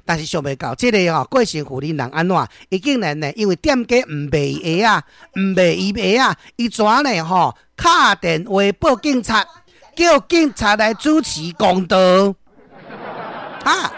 但是想袂到這个吼郭姓婦人人按怎？伊竟然呢，因為店家毋賣伊鞋仔，毋賣伊鞋仔，伊怎呢吼？敲電話報警察，叫警察來主持公道。哈，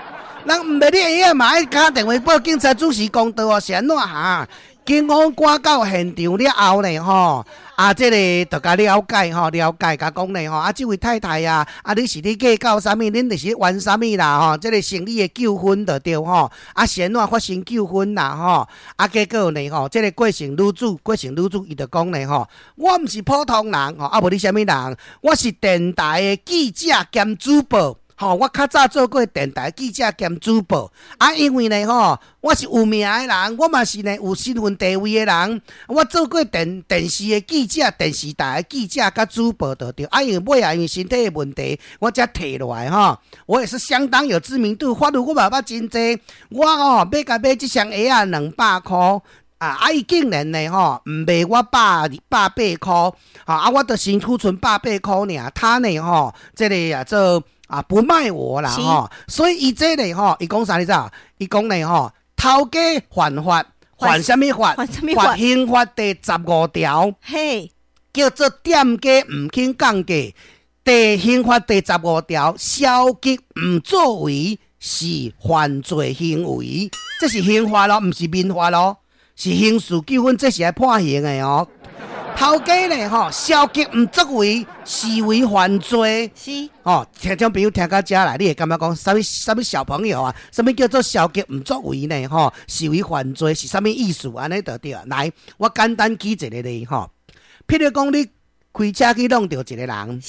人毋賣你鞋仔嘛，愛敲電話報警察主持公道哦，是按怎哈？警方趕到現場了後呢，吼，啊，這個就共了解吼，了解共講呢，吼，啊，這位太太啊，啊，你是咧計較啥物？恁就是冤啥物啦，吼，這個生理的糾紛就對吼，啊，是按怎發生糾紛啦，吼，啊，結果呢，吼，這個郭姓女子，郭姓女子伊就講呢，吼，我毋是普通人，吼，啊，無你啥物人？我是電台的記者兼主播。吼，我較早做過電台記者兼主播，啊，因為呢，吼，我是有名的人，我嘛是呢有身份地位的人，我做過電視的記者、電視台的記者佮主播就對，啊，因為尾仔因為身體的問題，我才退落來吼。我也是相當有知名度，法律我嘛捌真濟，我吼欲共買這雙鞋仔200箍。啊！啊！伊竟然呢，吼，毋賣我180塊，啊！我著身軀賰百八箍爾，他呢，吼，這个啊做啊不賣我啦，吼，所以伊這个吼，伊講啥你知？伊講呢，吼，頭家犯法，犯啥物法？犯刑法第15條，叫做店家毋肯降價。第刑法第15條，消極毋作為是犯罪行為，這是刑法咯，毋是民法咯。是刑事糾紛，這是愛判刑的哦。頭家呢，吼，消極毋作為，視為犯罪。哦，聽眾朋友聽到遮來，你會感覺講，啥物啥物小朋友啊？啥物叫做消極毋作為呢？吼，視為犯罪是啥物意思？按呢就對。來，我簡單舉一個例吼，譬如講你開車去挵著一個人，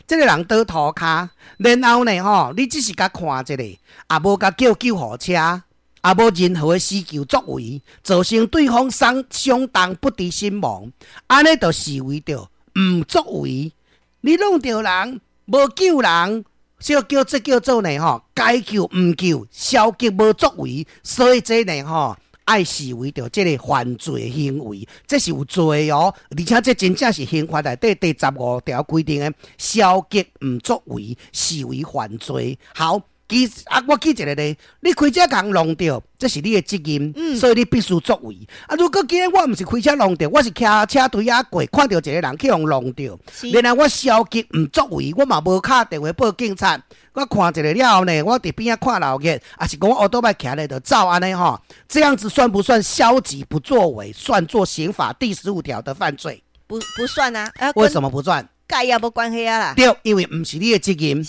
這個人倒塗跤，然後呢，吼，你只是共看一下，也無共叫救護車。也無任何的施救作為，造成對方傷傷重不治身亡，按呢就視為著毋作為。你挵著人，無救人，這叫這叫做呢吼，該救毋救，消極無作為，所以這呢吼，愛視為著這个犯罪行為，這是有罪哦。而且這真正是刑法內底第15條規定的消極毋作為，視為犯罪。好。舉啊！我舉一個例，你開車共人挵著，這是你的責任，所以你必須作為。啊，如果今日我毋是開車挵著，我是騎車隊仔過，看著一個人去予挵著，然後我消極毋作為，我嘛無敲電話報警察，我看一下了後呢，我佇邊仔看鬧熱，抑是講我歐多擺騎咧就走按呢吼，這樣子算不算消極不作為？算作刑法第15條的犯罪？不算啊！為什麼不算？佮伊也無關係啊啦。對，因為毋是你的責任，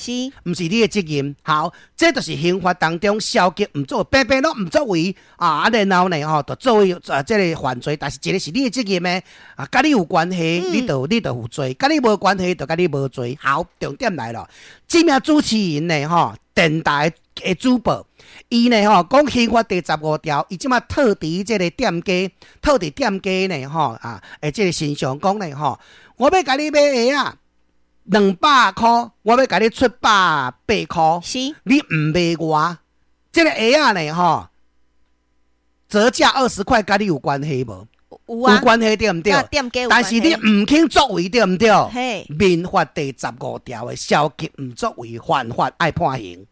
毋是你的責任。好，這就是刑法當中消極毋作為，白白攏毋作為啊！啊，然後呢，吼，就作為啊，這个犯罪，但是一个是你的責任的啊，佮你有關係，你就有罪；佮你無關係，就佮你無罪。好，重點來了，這名主持人呢，吼，電台的主播，伊呢，吼，講刑法第十五條，伊這馬套佇這个店家，套佇店家呢，吼啊，的這个身上講呢，吼，我欲共你買鞋仔，200箍，我欲共你出百八箍，你毋賣我，這个鞋仔呢，吼，折價20塊，佮你有關係無？有啊，有關係對毋對？但是你毋肯作為對毋對？民法第15條的消極毋作為犯法愛判刑。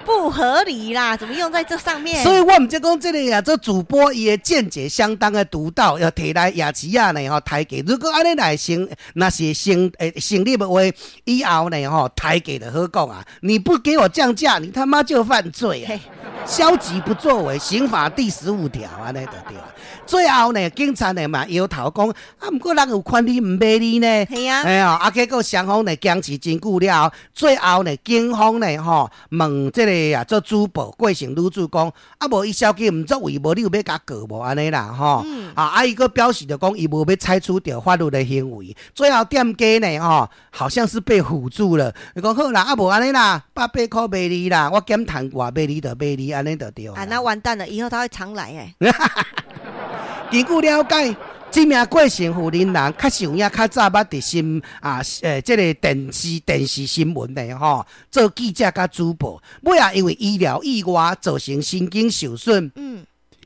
不合理啦，怎麼用在這上面？所以我毋才講這个啊，做主播伊的見解相當的獨到，要提來夜市仔呢吼抬價。如果按呢來成，若是成立的話，以後呢吼抬價就好講啊。你不給我降價，你他媽就犯罪啊！消極不作為，刑法第15條按呢就對。最後呢，警察呢嘛搖頭講，啊，毋過人有權利毋賣你呢。係啊。哎呀，啊，結果雙方呢僵持真久了後，最後呢，警方呢吼問這個啊做主播郭姓女子講，啊無伊消極毋作為，無你有欲共告無按呢啦吼。啊伊閣表示著講伊無欲採取著法律的行為。最後店家呢吼，好像是被唬住了。伊講好啦，啊無按呢啦，百八箍賣你啦，我減趁偌賣你就賣你，按呢就對。啊，那完蛋了，以後他會常來欸。根據了解，這名郭姓婦人人確實有影較早捌佇新啊，這个電視新聞的吼，做記者佮主播，尾仔因為醫療意外造成神經受損。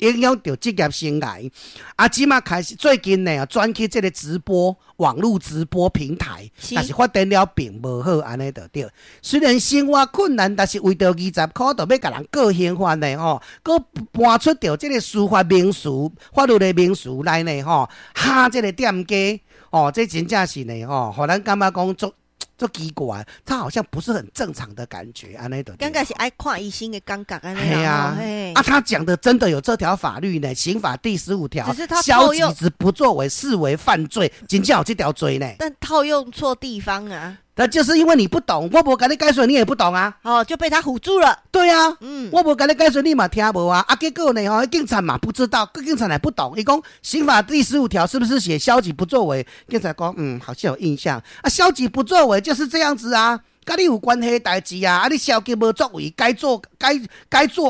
影響著職業生涯。啊，這馬開始最近呢，轉去這个直播網路直播平台，但是發展了並無好，按呢就對。雖然生活困難，但是為著二十箍，就欲共人告刑法呢吼，閣搬出著這个司法名詞、法律的名詞來呢吼，嚇這个店家哦，這真正是呢吼，予咱感覺講足足奇怪，他好像不是很正常的感覺，按呢就對。感覺是愛看醫生的感覺，按呢。係啊，啊，他講的真的有這條法律呢，刑法第15條，只是他消極之不作為視為犯罪，真正有這條罪呢。但套用錯地方啊。那就是因為你不懂，我無共你解說，你也不懂啊。哦，就被他唬住了。對啊，我無共你解說，你嘛聽無啊。啊，結果呢？吼，警察嘛不知道，警察也不懂。伊講刑法第十五條是不是寫消極不作為？警察講，嗯，好像有印象。啊，消極不作為就是這樣子啊，佮你有關係的代誌啊。啊，你消極無作為，該做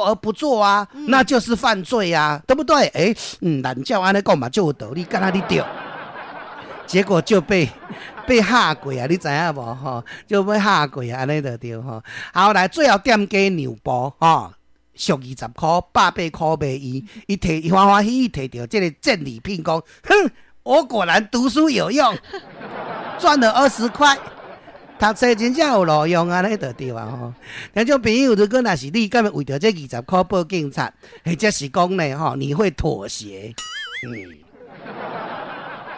而不做啊，那就是犯罪啊，對不對？欸，嗯，按照按呢講嘛，就有道理，敢若你對。結果就被嚇過啊！你知影無？吼，就被嚇過啊！按呢就對吼。後來最後店家讓步吼，俗20箍，180箍賣伊。伊提伊歡歡喜喜提著這个戰利品，講：哼，我果然讀書有用，賺了20塊。讀冊真正有路用，按呢就對啊吼。聽眾朋友，如果若是你，敢會為著這二十箍報警察，或者是講呢？吼，你會妥協？嗯。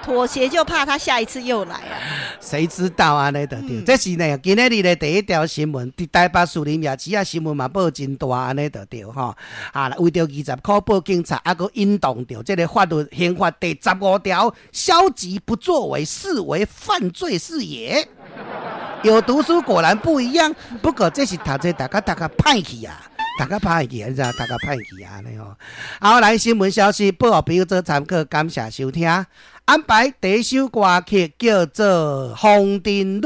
妥協就怕他下一次又來啊！誰知道啊？呢就對，這是呢今仔日的第一條新聞，佇台北士林夜市啊，新聞嘛報真大，按呢就對吼。啊，為著二十箍報警察，啊，閣引動著這个法律刑法第15條，消極不作為視為犯罪是也。有讀書果然不一樣，不過這是讀冊大家讀較歹去啊。讀較歹去，你知影？讀較歹去啊，按呢吼。好，來新聞消息，報予朋友做參考，感謝收聽。安排第一首歌曲叫做《風塵女》。